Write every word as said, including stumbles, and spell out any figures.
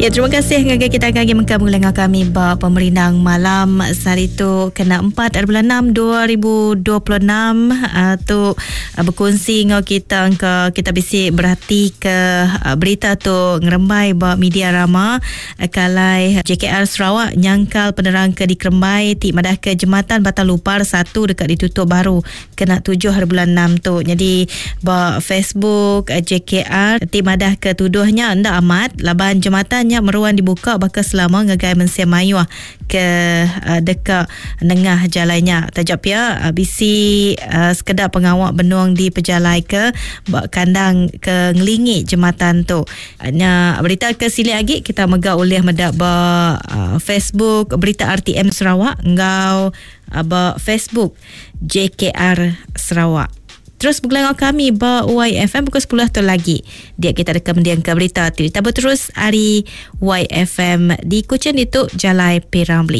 Ya, terima kasih ngagai kita kagi mengka mula ngau kami ba pemerindang malam sehari tu kena empat bulan enam dua ribu dua puluh enam uh, tu uh, berkongsi ngau kita ke kita bisi berhati ke uh, berita tu ngerembai ba media rama uh, kalai J K R Sarawak nyangkal penerang ke dikerembai ti madah ke jematan Batang Lupar satu dekat ditutup baru kena tujuh hari bulan enam tu. Jadi ba Facebook uh, J K R ti madah ke tuduhnya ndak amat laban jematan nya meruan dibuka bakal selama ngagai mensia mayuh ke uh, dekat nengah jalannya. Tajap pia uh, bisi uh, sekedar pengawak benung di pejalai ke bak kandang ke ngelingi jematan tu. Nya berita ke sili lagi kita mega ulih medak ba uh, Facebook berita R T M Sarawak ngau uh, ba Facebook J K R Sarawak. Terus bergelang kami ba Y F M pukul sepuluh tu lagi. Dia kita rekam mendiang ke berita. Kita berterus hari Y F M di Kuching itu Jalai Piramli.